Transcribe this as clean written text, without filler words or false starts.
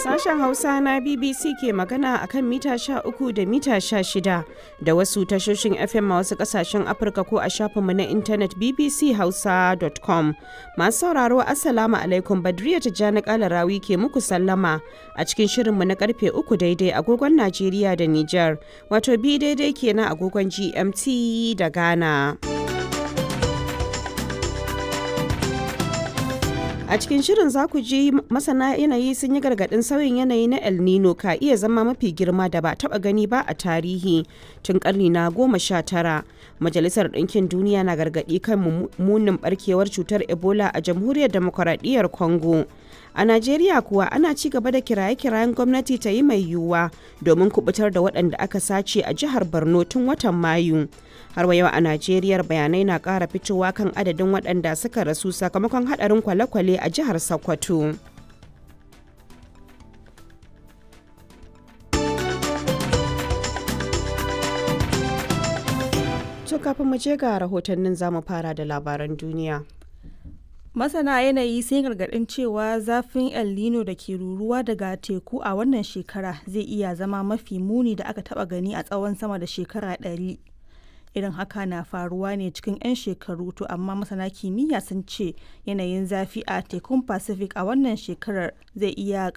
Sashen Hausa na BBC ke magana a kan mita 13 da mita 16 da wasu tashoshin FM a wasu kasashen Afirka ko a shafinmu na intanet bbchausa.com. Masu sauraro, Assalamu alaikum, Badriya Tijjani Kalarawi ke muku sallama a cikin shirinmu na karfe 3 daidai agogon Najeriya da Nijar, wato bi daidai kenan agogon GMT da Ghana. A cikin shirin za ku ji masana yanayi sun yi gargaɗin sauyin yanayi na El Nino ka iya zama mafi girma da ba taɓa gani ba a tarihi tun ƙarni na 19. Majalisar Ɗinkin Duniya na gargaɗi kan munin ɓarkewar cutar Ebola a Jamhuriyar Demokuraɗiyyar Congo. A Najeriya kuwa, ana ci gaba da kiraye-kirayen gwamnati ta yi mai yiwuwa domin kubutar da waɗanda aka sace a jihar Borno tun watan Mayu. Har wa yau a Najeriya, bayanai na ƙara fitowa kan adadin waɗanda suka rasu sakamakon haɗarin kwale-kwale a jihar Sokoto. To, kafin mu je ga rahotannin, zamu fara da labaran duniya. Masana yanayi sun gargaɗin cewa zafin El Nino da ke ruruwa daga teku a wannan shekara zai iya zama mafi muni da aka taɓa gani a tsawon sama da shekara 100. Irin haka na faruwa ne cikin 'yan shekaru, to amma masana kimiyya sun ce yanayin zafi a tekun Pacific a wannan shekarar zai iya